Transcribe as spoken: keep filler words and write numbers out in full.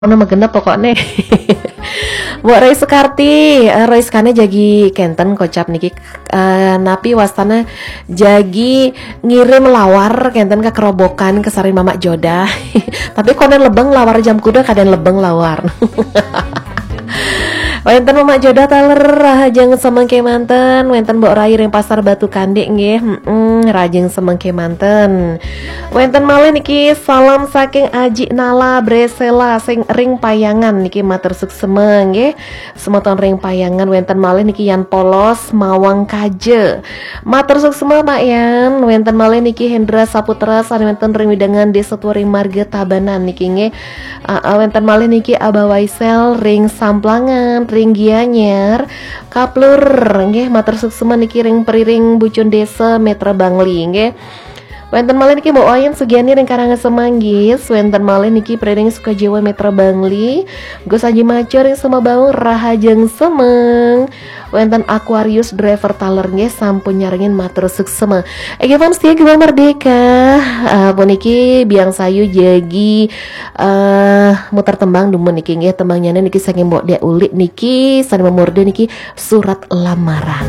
Ono magenep pokoknya. Mbok Roy Sukarti, eh, Roy Sukane jagi kenten kocap niki. Eh, napi wastane jagi ngirim lawar kenten ke kerobokan ke sari Mamak Joda. Tapi konen lebeng lawar jam kuda kaden lebeng lawar. Wenten Mamak Joda taler rahajeng semeng kemanten, wenten Mbok Rai ring Pasar Batu Kandik nggih. Mm-mm, rahajeng semeng kemanten. Wenten malih niki salam saking Aji Nala Bresela sing ring Payangan niki matur suksema nggih. Semeton ring Payangan wenten malih niki Yan Polos Mawang Kaja. Matur suksema Pak Yan, wenten malih niki Hendra Saputra sane wenten ring wewidangan Desa Turing Marga Tabanan niki nggih. Aa, wenten malih niki Abah Waisel ring Samplangan, ring Gianyar, Kaplur nggih matur suksema niki ring Periring Bucun Desa Metra Bangli nggih. Wenten malih niki Mbok Wayan Sugiani ring Karangasem Manggis, wenten malih niki Periring Sukajiwa Metra Bangli, Gus Aji Maco ring Semabaung rahajeng semeng. Wenten Aquarius Driver Taler nggih sampun nyarengin matur suksema. Ege fans setia Gema Merdeka, eh, puniki biang sayu jagi eh muter tembang dumun niki nggih, tembangnyane niki saking Mbok Dek Ulik niki sane mamurda niki Surat Lamaran.